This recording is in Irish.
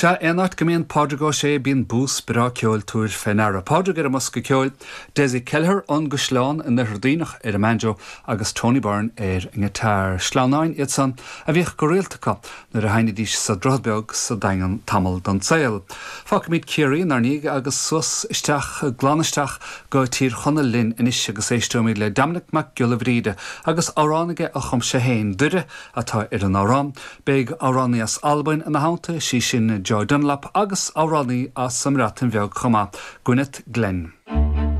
Sea, aon áit go mbíonn Pádraig Ó Sé bíonn bús breá ceoil, tabhair fé ndeara. Pádraig ar an mbosca ceoil, Dessie Kelleher ón gCaisleán in Oirthear Duibhneach ar an mbanjo agus Tony Byrne ar an ngiotár. Sleamhnáin iad san a bhíodh go rialta acu nuair a sheinnidís sa Droichead Beag sa Daingean tamall den tsaol. Fágfaimid Ciarraí inár ndiaidh agus suas isteach, glan isteach go Tír Chonaill linn anois agus éisteoimid le Dominic Mac Giolla Bhríde agus amhrán aige a chum sé féin, Doire atá ar an amhrán. Beidh amhránaí as Albain ina theannta, is í sin Joy Dunlop, agus amhránaí as an mBreatain Bheag chomh maith, Gwyneth Glenn.